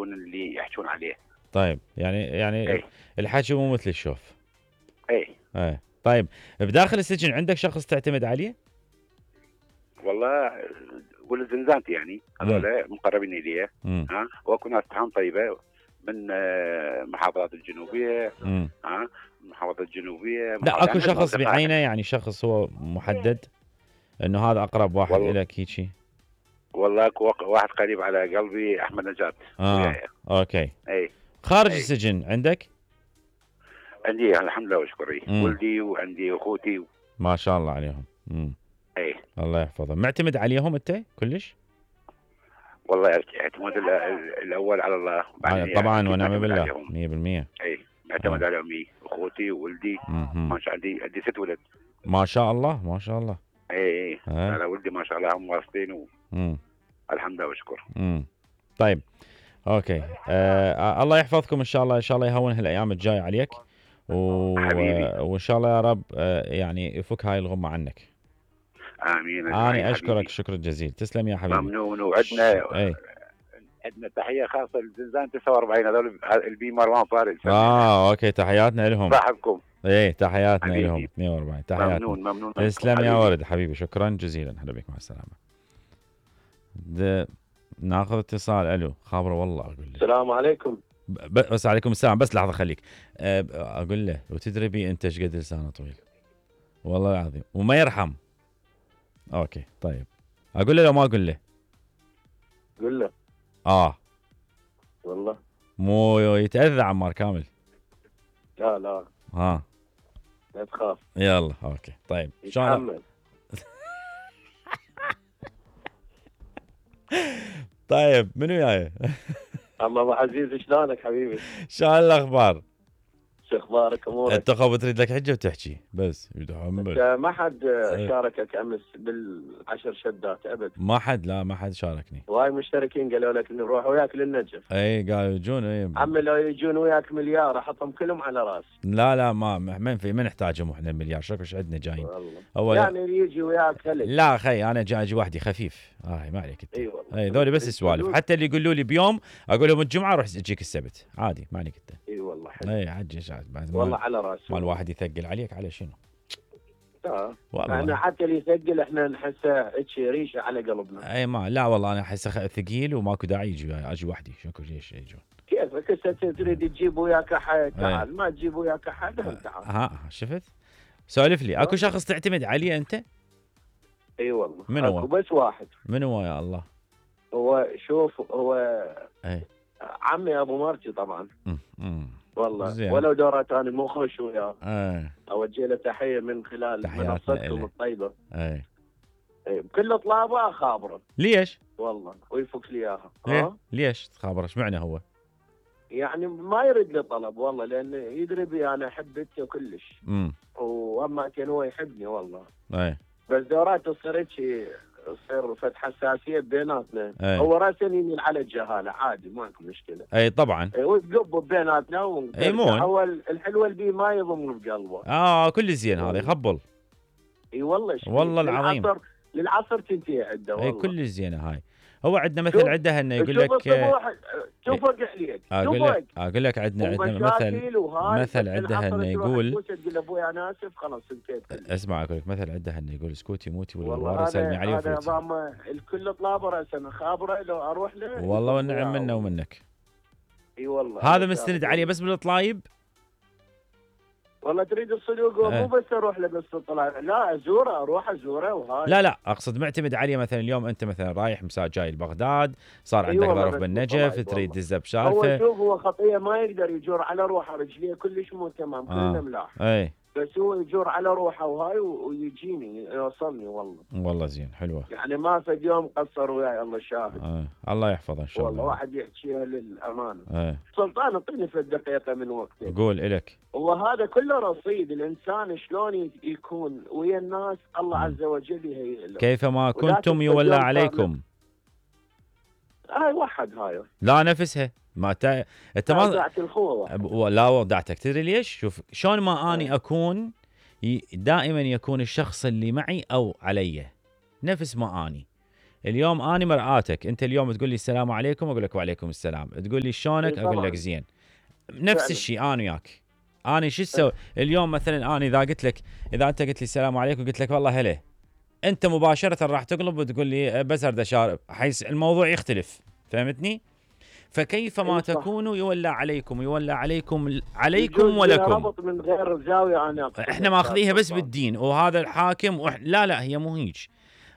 يشوفون اللي يحجون عليه. طيب يعني الحكي مو مثل الشوف. اي طيب بداخل السجن عندك شخص تعتمد عليه؟ والله ولد زنزانتي يعني هذول مقربين الي. واكو ناس تهم طيبه من المحافظات الجنوبيه. المحافظات الجنوبيه. لا اكو شخص بعينه يعني شخص هو محدد انه هذا اقرب واحد لك هيجي؟ والله اكو واحد قريب على قلبي، احمد نجاة. اوكي. اي خارج السجن عندك؟ عندي الحمد لله وشكري. ولدي وعندي اخوتي ما شاء الله عليهم. اي الله يحفظهم. معتمد عليهم انت كلش؟ والله اعتماد الاول على الله طبعا ونعم بالله 100%. اي معتمد على امي واخوتي وولدي. ما شاء الله عندي 6 ولد. ما شاء الله ما شاء الله. اي على ولدي ما شاء الله هم وارثين الحمد لله والشكر. طيب اوكي. الله يحفظكم ان شاء الله. ان شاء الله يهون هالايام الجايه عليك وان شاء الله يا رب يعني يفك هاي الغمه عنك. امين. انا اشكرك شكر جزيل. تسلم يا حبيبي. ممنون. وعندنا عندنا تحيه خاصه لزنزان 49 هذول البي مروان فارس. اوكي تحياتنا لهم. صاحبكم. تحياتنا لهم 42. تحياتنا. ممنون. تسلم يا ورد حبيبي. شكرا جزيلا. هلا بك مع السلامه. ناخذ اتصال. الو خابره والله اقول له السلام عليكم. بس عليكم السلام. بس لحظه خليك اقول له وتدري بي انت ايش قد لسانه طويل والله العظيم وما يرحم. اوكي طيب اقول له لو ما اقول له؟ قول له. والله مو يتاذى عمار كامل. لا لا تخاف. يلا اوكي طيب شلون طيب منو جاي؟ الله ابو عزيز شلونك حبيبي؟ شلون الاخبار؟ شو اخبارك امورك؟ انت خو تريد لك حجه وتحكي بس انت ما حد شاركك امس بال10 شدات ابد؟ ما حد شاركني. وايد مشتركين قالوا لك نروح وياك للنجف. قالوا يجون. عمي لو يجون وياك مليار احطهم كلهم على راس. لا ما نحتاجهم احنا المليار. شوف ايش عندنا جايين. يعني اللي يجي وياك هلك. لا خي انا جاي وحدي خفيف. ما عليك انت. اي والله. ذولي بس سوالف. حتى اللي يقولوا لي بيوم اقول لهم الجمعه روح تجيك السبت عادي ما عليك انت. اي والله حلو. عجز والله على راسي. ما الواحد يثقل عليك على شنو؟ والله انا حتى اللي يثقل احنا نحسه هيك ريشه على قلبنا. ما لا والله انا احسه ثقيل وماكو داعي اجي وحدي. شكو ليش يجون؟ كيفك هسه تريد تجيب وياك احد تعال. ما تجيب وياك احد تعال. شفت؟ سولف لي. اكو شخص تعتمد عليه انت؟ اي والله. من هو؟ اكو بس واحد. من هو يا الله؟ هو شوف هو عمي ابو مرتي طبعا. والله زين. ولو دورات انا مو خوش وياه. اوجه له تحيه من خلال منصتكم الطيبه. بكل اطلابه اخابره. ليش؟ والله ويفك لي اياها. ليش تخابره؟ ايش معنى هو؟ يعني ما يرد لي طلب والله لانه يدري بي انا احب بنته كلش. واما كان هو يحبني والله. بس دورات تصير هيك تصير فتح حساسيه بيناتنا. هو راسا يميل على الجهاله عادي ماكو مشكله. طبعا. ويقب بيناتنا هو الحلوه اللي ما يضم بقلبه. كل زين هذا يخبل. والله والله العظيم. للعصر تنتهي عنده والله. كل زينه هاي. هو عندنا مثل عنده انه يقول لك توفق عليك. اقول لك عندنا مثل عنده انه يقول ابويا انا اسف خلاص انتهيت. اسمع اقول لك مثل عنده انه يقول اسكتي موتي والله يسلمي عليه هذا نظام الكل طلابه راسا خابره لو اروح له. والله والنعم منا ومنك. اي والله. هذا مستند عليه بس بالطلايب. والله تريد الصدوق مو بس اروح له بس طلع لا ازوره اروح ازوره وهاي. لا اقصد معتمد عليه مثلا اليوم انت مثلا رايح جاي لبغداد صار عندك ظرف بالنجف تريد تدز بسالفه. هو شوف هو خطيه ما يقدر يجور على روحه رجليه كلش مو تمام كلنا ملاح. بس هو يجور على روحه وهاي ويجيني يوصلني والله زين حلوه. يعني ما في يوم قصر وياي الله شاهد. الله يحفظه ان شاء الله. والله واحد يحكيها للامانه. سلطان اعطيني في دقيقه من وقتك. قول الك. وهذا كله رصيد الانسان شلون يكون ويا الناس الله عز وجل يهيئ له. كيفما كنتم يولى عليكم. هاي وحد هاي. لا نفسها ما انت ما ودعت الخوه. لا ودعتك. تدري ليش؟ شوف شلون ما اني اكون دائما يكون الشخص اللي معي او علي نفس ما اني اليوم اني مرآتك، انت اليوم تقول لي السلام عليكم اقول لك وعليكم السلام، تقول لي شلونك اقول لك زين. نفس الشيء انا وياك. انا شو اسوي اليوم مثلا؟ انا اذا قلت لك، اذا انت قلت لي السلام عليكم وقلت لك والله هلا، انت مباشره راح تقلب وتقول لي بس اريد اشارب، حيث الموضوع يختلف. فهمتني؟ فكيف ما تكونوا يولى عليكم، يولى عليكم ولكم. ربط من غير زاويه. انا احنا ماخذيها بس بالدين وهذا الحاكم لا هي مو هيج.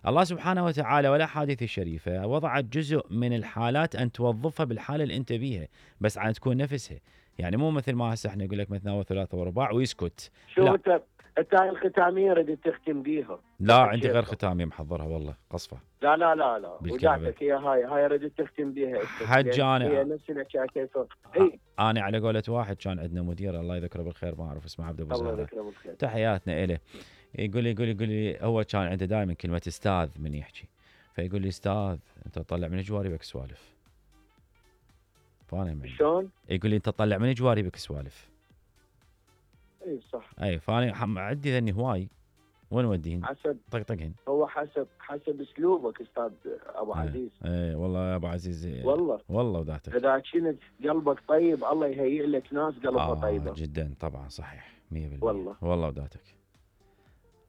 الله سبحانه وتعالى ولا حديث الشريفه وضعت جزء من الحالات ان توظفها بالحاله اللي انت بيها، بس عن تكون نفسها. يعني مو مثل ما هسه احنا نقول لك مثنى وثلاث ورباع ويسكت. شو انت هاي الختاميه ردت تختم بيها؟ لا عندي غير ختاميه محضرها والله قصفه. لا وجاتك هي ردت تختم بيها حج. انا هي نفسنا كيف انا على قولة واحد كان عندنا مدير الله يذكره بالخير، ما اعرف اسمه، عبد ابو زهره، الله يذكره بالخير، تحياتنا له. يقول لي هو كان عنده دائما كلمه استاذ من يحكي، فيقول لي استاذ انت تطلع من جواربك سوالف. فانا شلون؟ يقول لي انت تطلع من جواربك سوالف. اي صح. اي فانا عندي ذني هواي، وين وديهن؟ حسب طقطقهن. هو حسب اسلوبك استاذ ابو عزيز. اي والله يا ابو عزيز، والله وذاتك اذا كنت قلبك طيب الله يهيئ لك ناس قلبها طيبه جدا طبعا صحيح 100%. والله وذاتك.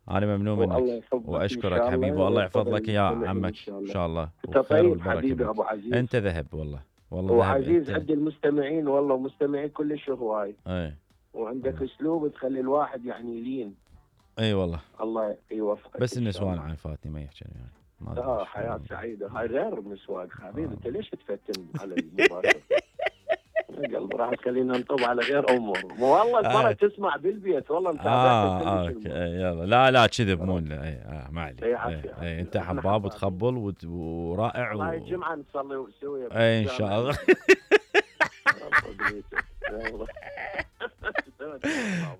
انا ممنون منك واشكرك حبيبي، والله يحفظ لك يا عمك ان شاء الله. انت طيب حبيبي ابو عزيز، انت ذهب والله وعزيز عند المستمعين والله، مستمعين كلش هواي. اي وعندك اسلوب تخلي الواحد يعني يلين. اي والله الله يوفقك. بس النسوان عارفاتني ما يحكي يعني. حياة سعيدة. هاي غير النسوان حبيبي. انت ليش تفتن على المباشر؟ قلب راح تخلينا نطب على غير امور. والله المرة تسمع بالبيت والله انت اوكي يلا لا كذب مو ما عليك. انت حباب وتخبل ورائع. هاي الجمعة نصلي سويا ان شاء الله.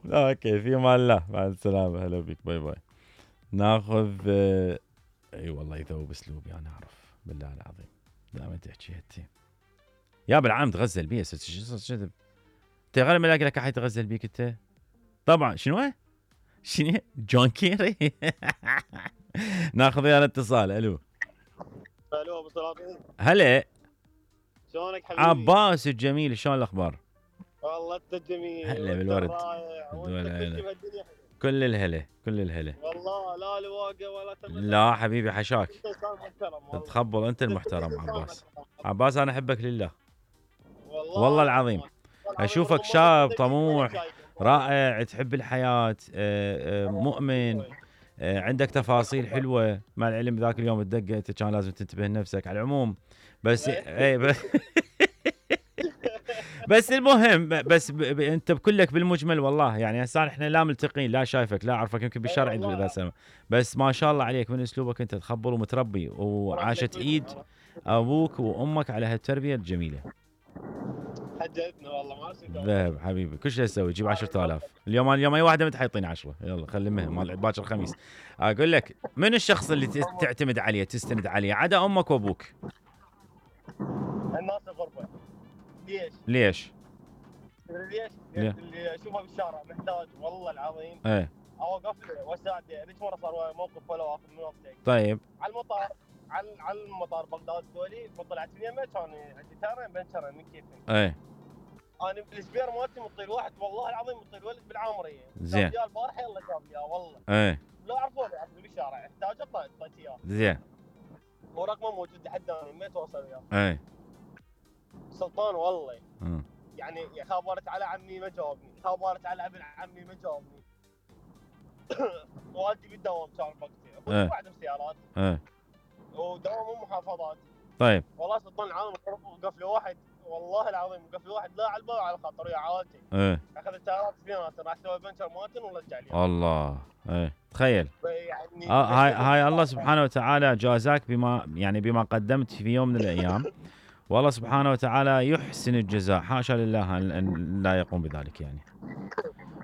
اوكي في امان الله، مع السلامة، هلا بك، باي باي. ناخذ اي والله يذوب اسلوبي انا اعرف بالله العظيم دائما تحكي هتي يا بالعام تغزل بيه كذب. انت غير ما الاقي لك احد يتغزل بيك انت طبعا. شنو جون كيري. ناخذ ويانا اتصال. الو ابو سلاطين، هلا شلونك حبيبي؟ عباس الجميل، شلون الاخبار؟ والله انت جميل. هلا بالورد. كل الهلا والله. لا الواقع ولا لا حبيبي حشاك. تخبل انت المحترم عباس انا احبك لله والله العظيم. اشوفك شاب طموح رائع، تحب الحياة، مؤمن، عندك تفاصيل حلوة. مع العلم ذاك اليوم الدقة كان لازم تنتبه لنفسك على العموم، بس بس المهم بس انت بكلك بالمجمل والله يعني هسه احنا لا ملتقين لا شايفك لا اعرفك يمكن بالشارع اذا سمع، بس ما شاء الله عليك من اسلوبك انت تخبر ومتربي، وعاشت ايد ابوك وامك على هالتربيه الجميله. حجتنا والله ما نسيت. ذهب حبيبي كل شيء تسوي تجيب 10,000 اليوم اي واحده مت حيطيني 10. يلا خلي مال باكر الخميس. اقول لك من الشخص اللي تعتمد عليه تستند عليه عدا امك وابوك؟ الناس الغربه. ليش؟ اللي اشوفه بالشارع محتاج والله العظيم اوقف له واساعده. ليش مره صار موقف ولا اخذ من وقتك. طيب على المطار على المطار بغداد دولي طلعت من يمه كان عندي تارين بنشرين من كيفي. انا بالسبير مالتي مطيل واحد والله العظيم مطيل ولد بالعامريه زين جاء البارحه يلا جاب لي والله لا اعرفوني بالشارع احتاج اعطيت اياه زين ورقمه موجود لحد انا ما اتواصل وياه. سلطان والله يعني خابرت على عمي ما جاوبني، خابرت على ابن عمي ما جاوبني. والدي بالدوام كان بوقتي اخوي واحد بسيارات ودوام محافظات. طيب والله سلطان العالم وقف له واحد والله العظيم وقف له واحد لا على الباب على خاطر ويا عائلتي. اخذ السيارات سنينات راح سوى بنشر مالتن ورجع لي. الله تخيل يعني هاي الله سبحانه وتعالى جازاك بما قدمت في يوم من الايام. والله سبحانه وتعالى يحسن الجزاء، حاشا لله ان لا يقوم بذلك يعني.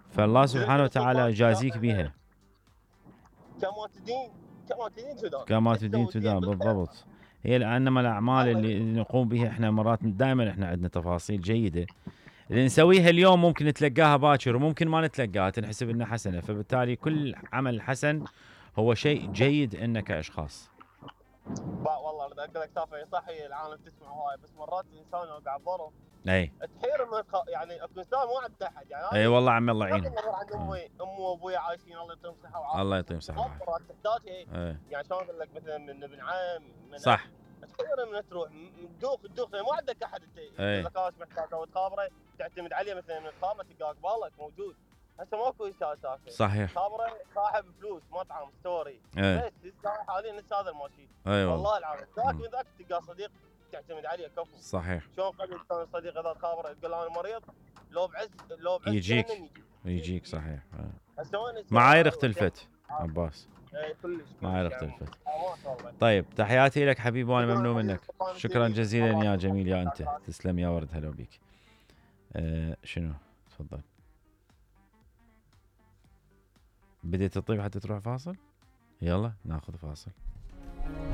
فالله سبحانه وتعالى يجازيك بها. كما تدين تدان بالضبط. هي انما الاعمال اللي نقوم بها احنا مرات دائما احنا عندنا تفاصيل جيده اللي نسويها اليوم ممكن نتلقاها باكر وممكن ما نتلقاها تنحسب انها حسنه، فبالتالي كل عمل حسن هو شيء جيد انك كاشخاص. والله اقول لك سالفه صحي العالم تسمع هواي بس مرات الانسان لو قاعد برا اي تحير من يعني اكو انسان مو عنده احد يعني اي والله عمي الله يعينهم. عند امي وابوي عايشين الله يعطيهم صحه وعافيه. الله يعطيهم صحه وعافيه. مرات تحتاج يعني شلون اقول لك مثلا من ابن عم من صح تحير من تروح تدوخ مو عندك احد انت يقول لك ايش محتاج او تخابره تعتمد عليه مثلا من الخابره تلقاه قبالك موجود. هسه ماكو سالفه صحيح خابره صاحب فلوس مطعم ستوري بس حاليا لسه هذا الماشي والله العظيم ذاك من ذاك تلقى صديق تعتمد عليه كفو. صحيح شلون قبل كان الصديق اذا تخابره تقول انا مريض لو بعز يجيك صحيح. معايير اختلفت عباس كلش معايير اختلفت. طيب تحياتي لك حبيبي وانا ممنون منك شكرا جزيلا يا جميل يا انت تسلم يا ورد هلا بيك. شنو تفضل بديت تطيب حتى تروح فاصل يلا ناخذ فاصل.